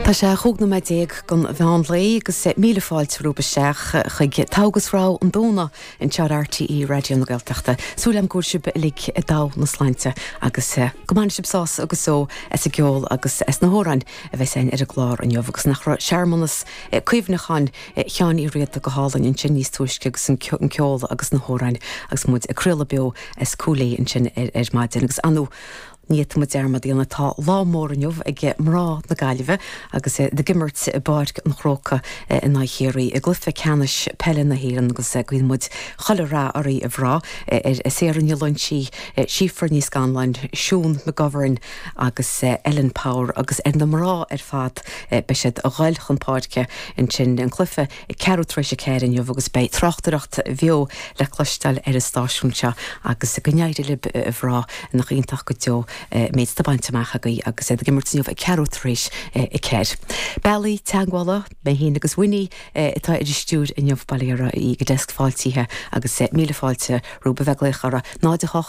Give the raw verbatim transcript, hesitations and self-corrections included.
Tá sé chúig nóiméad déag don mheán lae agus míle fáilte romhaibh isteach chuig Togha agus Rogha an Domhnaigh anseo ar RTÉ Raidió na Gaeltachta. Súil agam go bhfuil sibh uilig i dtogha na sláinte agus go mbainfidh sibh sásamh agus só as an gceol agus as na hamhráin a bheas againn ar an gclár inniu agus nach raibh searmanas cuimhneacháin Sheáin Uí Riada go hálainn ansin níos túisce agus an ceol agus na hamhráin agus muid ag craoladh beo as Cúil Aodha ansin ar ar maidin agus anu Ní fhéadfaidh muid dearmad a dhéanamh tá lá mór inniu ag mná na Gaillimhe agus iad ag imirt i bPáirc an Chrócaigh in aghaidh Chiarraí i gcluiche ceannais peile na hÉireann agus guíonn muid chuile rath oraibh a mhná ar Sarah Ní Loingsigh, Síofra Ní Scanláin, Siún McGovern agus Ellen Power agus ar na mná ar fad beidh siad ag dul chun páirce ansin an cluiche ag ceathrú tar éis a ceathair inniu agus beidh tráchtaireacht bheo le cloisteáil ar an stáisiún seo agus go n-éirí libh a mhná nach iontach go deo méid atá bainte amach agaibh agus iad ag imirt inniu ag ceathrú tar éis a ceathair. Bealaí teagmhála mé féin agus Winnie atá ar an stiúir inniu bail ó Dhia oraibh ag an deasc fáiltithe agus míle fáilte romhaibh a bheith ag glaoch orainn náid a hocht